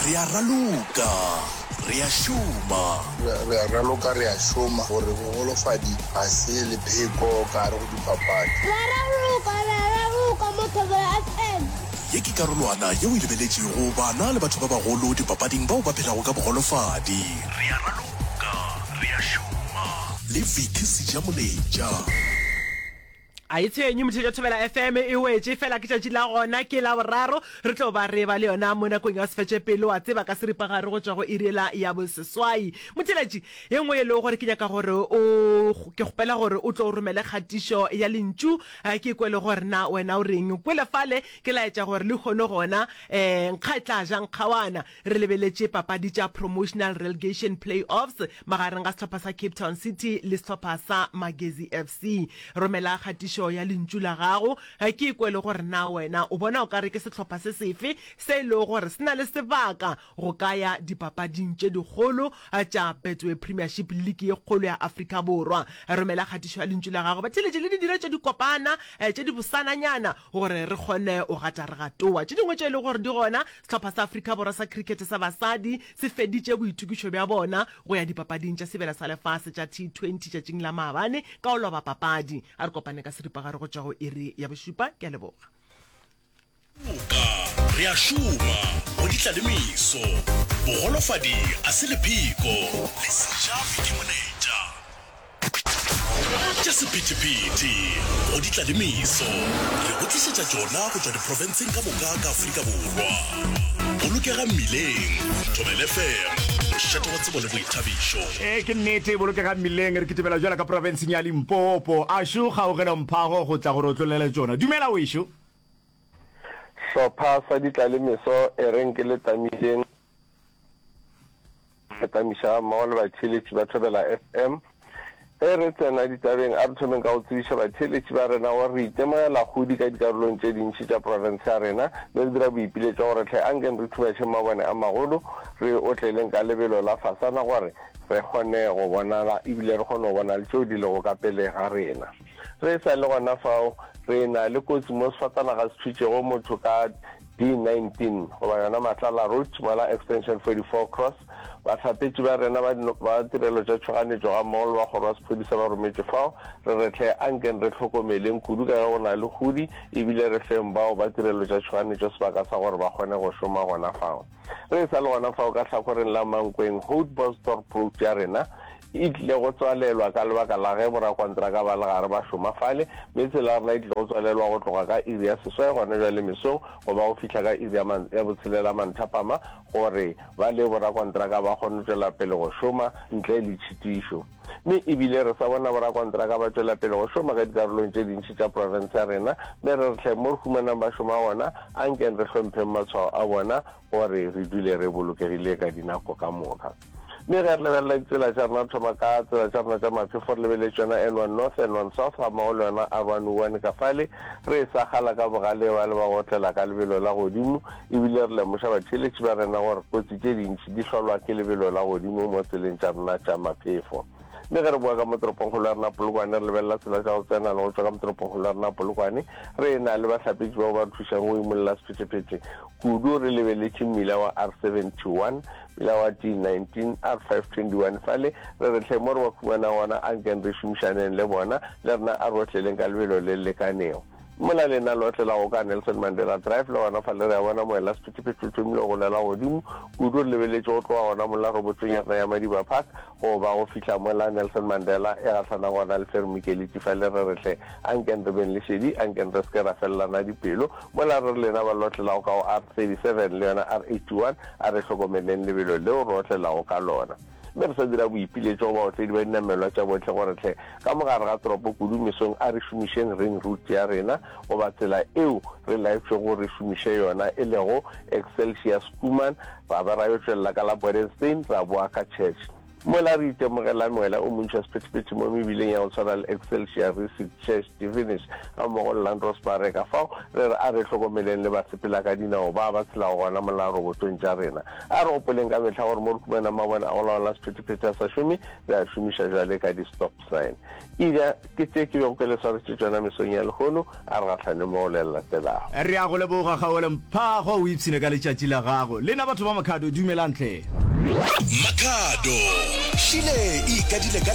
Re a raloka, re a šoma. Re a raloka, re a šoma gore bogolofadi ga se lepheko ka gare go dipapadi. Re a raloka, re a raloka mo Thobela FM. Ye ke karolwana yeo e lebeletšego bana le batho ba bagolo dipapading bao ba phelago ka bogolofadi. Re a raloka, re a šoma le Vicky Sejamoletša. A e tshwenye motho tša Thobela FM e wetše fela ke tšatši la gona ke la boraro re tlo ba re ba le yona mo nakong ya sefetše pele wa tseba ka seripagare go tšwa go iri la ya boseswai. Motheeletši ye nngwe e lego gore ke nyaka gore o ke kgopela gore o tlo romele kgatišo ya lentšu ke kwe le gore na wena o reng kwele fale ke laetša gore lehono gona um nkga e tla ja nkgawana Re lebeletše papadi tša Promotional Relegation Play-offs magareng ga sehlopha sa Cape Town City le sehlopha sa Magezi FC. Romela kgatišo ya lentšu la gago ke kwe le gore na wena o bona o ka re ke sehlopha se sefe se e lego gore se na le sebaka go ka ya dipapading tše dikgolo tša Betway Premiership League ye kgolo ya Afrika Borwa. Romela kgatišo ya lentšu la gago batheeletši le di dire tše dikopana tše dibosananyana gore re kgone go gata re gatoa. Tše dingwe tše e lego gore di gona Sehlopha sa Afrika Borwa sa Khrikhete sa basadi se feditše boitokišo bja bona go ya dipapading tša Sebjana sa Lefase tša T20 tšatšing la maabane ka go loba papadi. A re kopane ka seripagare go tšwa go iri ya bošupa. Ke a leboga. Moka re a šoma go di tla le meso. Bogolofadi a se lepheko. Le sejabi ke moletša. Tša sephethephethe go di tla le meso. Re go tlišetša tšona go tšwa diprofenseng ka moka ka Afrika Borwa. Bolokega mmileng. Thobela FM, mošate wa tsebo le boithabišo. Ee, ke nnete, bolokega mmileng. Re kitimela bjala ka profenseng ya Limpopo. Ašo Kgaogelo Mphago go tla go re otlollela tšona. Dumela wešo. Hlopha sa ditlalemeso e reng ke le tamišeng. Re tamiša gammogo le batheeletši ba Thobela FM. Ge re tsena ditabeng, a re thomeng ka go tsebiša batheeletši ba rena gore re itemogela kgodi ka dikarolong tše dintši tša profense ya rena mme re dira boipiletšo gore hle ankeng re thubašeng mabone a magolo re otleleng ka lebelo la fasana gore re kgone go bonala ebile re kgone go bona le tšeo di lego ka pele ga rena. Re sa le gona fao, re na le kotsi mo sefatanaga se thutšego motho ka D19 goba yona Matlala Road mola Extension 44 Cross. Bahlapetši ba rena ba ba tirelo tša tšhoganetšo gammogo le ba kgoro ya sephodisa ba rometšwe fao. Re re hle ankeng re hlokomeleng kudu ka ge go na le kgudi ebile re feng bao ba tirelo tša tšhoganetšo sebaka sa gore ba kgone go šoma gona fao. Re sa le gona fao ka hlakoreng la Mankweng Houtbosdorp Road ya rena e tlile go tswalelwa ka lebaka la ge borakontraka ba le gare ba šoma fale, mme tsela ya rena e tlile go tswalelwa go tloga ka iri ya seswai gona bjale mesong go ba go fihla ka iri ya botshelela manthapama gore ba le borakontraka ba kgone go tšwela pele go šoma ntle le tšhitišo. Mme e bile re sa bona borakontraka ba tšwela pele go šoma ka dikarolong tše dintši tša profense ya rena, mme re re hle mo re humanang ba šoma gona, ankeng re hlompheng matshwao a bona gore re dule re bolokegile ka dinako ka moka. Mme ge re lebelela ditsela tša rena, re thoma ka tsela tša rena tša maphefo, re lebeletše yona N1 North, N1 South gammogo le yona R1 1 ka fale, re e sakgala ka bogale ba le ba go otlela ka lebelo la godimo, ebile re lemoša batheeletši ba rena gore kotsi tše dintši di hlolwa ke lebelo la godimo mo tseleng tša rena tša maphefo. Mme ge re boa ka mo toropongkgolo ya rena Polokwane, re lebelela tsela tša go tsena le go tšwa ka mo toropongkgolo ya rena Polokwane, re e-na le bahlapetši bao ba re thušago go imolla sephethephethe kudu, re lebeletše mmila wa R71, mmila wa D19, R521 fale, re re hle mo re ba humanang gona ankeng re šomišaneng le bona, le rena a re otleleng ka lebelo le le lekanego. Mola lena le otlelago ka Nelson Mandela Drive le gona fale re a bona moela sephethephethe o thomile go golela godimo kudu, re lebeletše go tloga gona mola robotong ya rena ya Madiba Park go ba go fihla mola Nelson Mandela e gahlana gona le Fermi Keleti fale re re hle ankeng re beng le šedi, ankeng re se ke ra felelana dipelo. Mola re re lena ba le otlelago ka go R37 le yona R81 a re hlokomeleng lebelo leo re otlelago ka lona. Mme re sa dira boipiletšo go baotledi ba dinamelwa tša bohle gore hle ka mo gare ga toropo kudu mesong a re šomišeng ring route ya rena goba tsela eo re laetšwego re šomiše yona e lego Excelsior Schoeman ra ba ra yo tšwelela ka la Bodenstein ra boa ka Church. Mola re itemogela moela o montši wa sephethephethe mo mebileng ya go tshwana le Excelsior, Rissik, Church, Divinish gammogo le Landdros Maré. Ka fao re re a re hlokomeleng le basepelakadinao ba ba tshelago gona mola robotong tša rena. A re gopoleng ka mehla gore mo re humanang mabone a go laola sephethephethe a sa šome, re a šomiša bjale ka di-stop sign. Ida, ke tše ke bego ke le swaretše tšona mesong ya lehono, a re gahlane mo go le le latelago. Re a go leboga, Kgaogelo Mphago, o ipshine ka letšatši la gago. Lena batho ba Makhado, dumelang hle. Makhado, Šile e ikadile ka.